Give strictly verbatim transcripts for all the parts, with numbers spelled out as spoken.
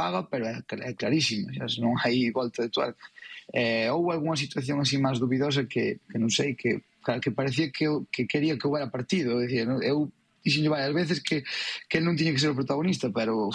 paga, pero é, é clarísimo, xa, non hai volta de tuerca. Eh, houve algunha situación así máis dubidosa que, que non sei, que, que parecía que, que quería que houbera partido. Decía, non? Eu dixenlle varias veces que, que non tiña que ser o protagonista, pero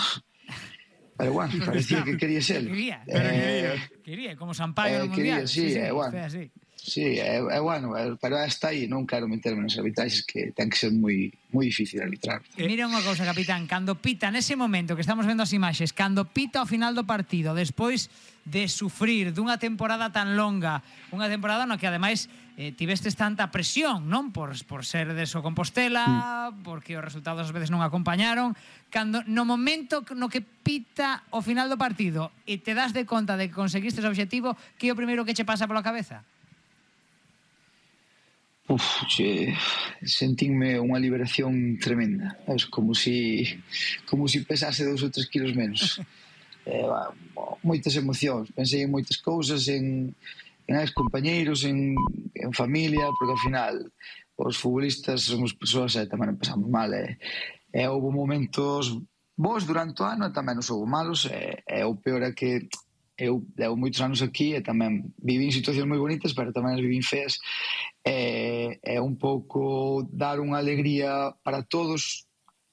pero bueno, parecía que quería ser. Quería, pero eh, quería. Quería, como Sampaio eh, no Mundial. Quería, sí, sí, sí, é bueno. así. Sí, é, é bueno, pero hasta aí non quero meterme nas arbitraxes, que ten que ser moi moi difícil arbitrar. E mira unha cousa, capitán, cando pita nese momento que estamos vendo as imaxes, cando pita ao final do partido, despois de sufrir dunha temporada tan longa, unha temporada no que ademais eh, tivestes tanta presión, non? Por, por ser de So Compostela, mm. porque os resultados ás veces non acompañaron, cando no momento no que pita ao final do partido e te das de conta de que conseguistes o obxectivo, que é o primeiro que che pasa pola cabeza? Uf, che, sentínme unha liberación tremenda, sabes? Como si como si pesase dous ou tres kilos menos. eh, bah, moitas emocións, pensei en moitas cousas, en, en ex compañeiros, en, en familia, porque ao final os futbolistas somos persoas e tamén pasamos mal, e, e houve momentos bons durante o ano e tamén os houve malos, e, e o peor é que eu levo moitos anos aquí e tamén viví en situacións moi bonitas, pero tamén as viví en feas. É, é un pouco dar unha alegría para todos,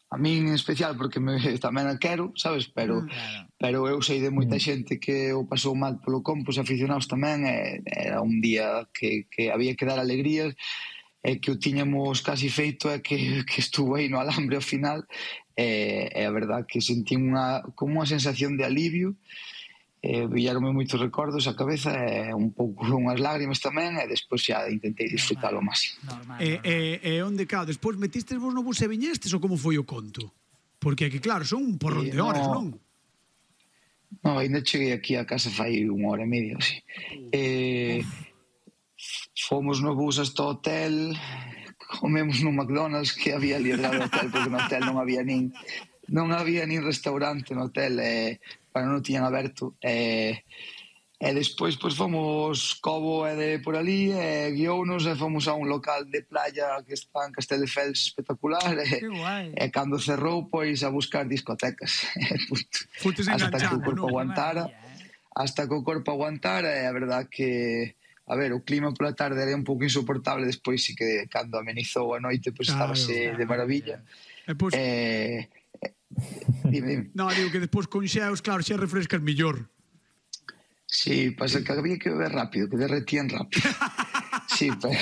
a min en especial, porque me, tamén a quero, sabes? Pero, claro. pero eu sei de moita xente que o pasou mal polo campo, os aficionados tamén, e, era un día que, que había que dar alegrías, e que o tiñamos casi feito, e que, que estuvo aí no alambre ao final, e, e a verdad que sentí unha, como unha sensación de alivio. Eh, villaronme moitos recordos a cabeza, e un pouco unhas lágrimas tamén, e despois xa intentei disfrutar ao máximo. E, e, e onde cá, despois metistes vos no bus e viñestes, ou como foi o conto? Porque é que claro, son un porrón de horas, no, non? Non, ainda cheguei aquí a casa fai unha hora e media, así. Eh, fomos no bus hasta o hotel, comemos no McDonald's que había ali ao hotel, porque no hotel non había nin non había nin restaurante no hotel, e para non tiñan aberto, e, e despois pois fomos Cobo e de por ali, e guiounos e fomos a un local de playa que está en Castelldefels espectacular, e, e cando cerrou pois a buscar discotecas. Hasta que o corpo aguantara, hasta que o corpo aguantara, e a verdad que a ver, o clima pola tarde era un pouco insoportable, despois sí que cando amenizou a noite pois claro, estábase claro, de maravilla. E pois eh, dime, dime. No, digo que despois con xeos, claro, xa refrescas millor. Sí, pasa que había que beber rápido, que derretían rápido. Sí, pero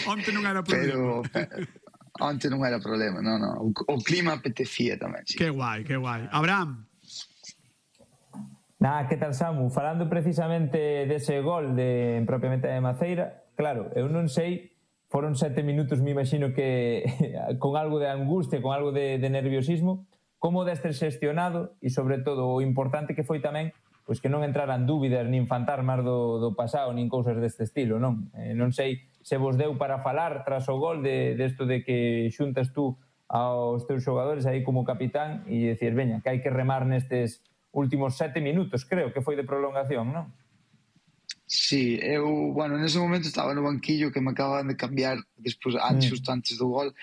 onte non era problema. Pero onte non era problema, no, no. O, o clima apetecía tamén, sí. Que guai, que guai. Abraham. Nah, que tal, Samu? Falando precisamente dese gol de propiamente de Maceira, claro, eu non sei, foron sete minutos, me imagino que con algo de angustia, con algo de, de nerviosismo, como deste xestionado, e sobre todo o importante que foi tamén pois que non entraran dúbidas nin fantasmas do, do pasado, nin cousas deste estilo, non? Eh, non sei se vos deu para falar tras o gol de, desto de que xuntas tú aos teus xogadores aí como capitán e decir, veña, que hai que remar nestes últimos sete minutos, creo que foi de prolongación, non? Sí, eu, bueno, nese momento estaba no banquillo que me acababan de cambiar despois, antes, xusto antes do gol.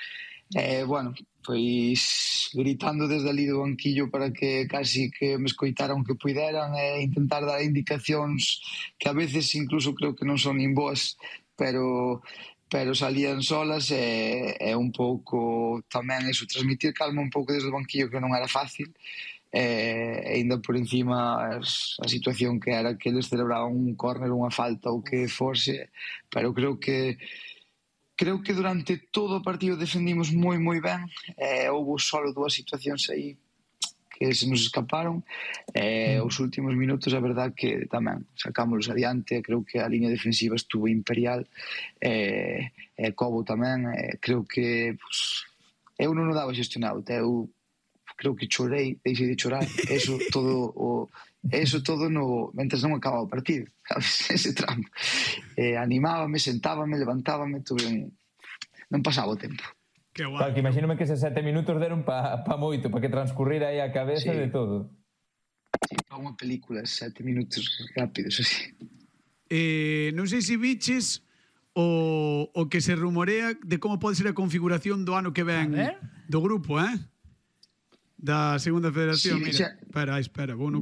Eh, bueno, pois gritando desde ali do banquillo para que casi que me escoitaran que puideran, e intentar dar indicacións que a veces incluso creo que non son nin boas, pero pero salían solas, e, e un pouco tamén eso, transmitir calma un pouco desde o banquillo, que non era fácil. E ainda por encima a situación que era que eles celebraban un córner, unha falta ou que forse, pero creo que creo que durante todo o partido defendimos moi moi ben, e houve solo dúas situacións aí que se nos escaparon, e os últimos minutos a verdad que tamén sacámoslos adiante. Creo que a línea defensiva estuvo imperial, e, e Cobo tamén, e creo que pues, eu non o daba xestionado, eu creo que chorei, deixei de chorar, eso todo o eso todo no mentres non acababa o partido, sabes, ese tramo. Eh, animábame, sentábame, levantábame, tuve un... non pasaba o tempo. Que guai. Claro, que imagínome que eses sete minutos deron pa, pa moito, pa que transcurrira aí a cabeza sí. de todo. Sí, pa unha película, sete minutos rápidos, así. Eh, non sei se biches o, o que se rumorea de como pode ser a configuración do ano que ven do grupo, eh? Da segunda federación, sí, mira. Xa... Espera, espera, vou no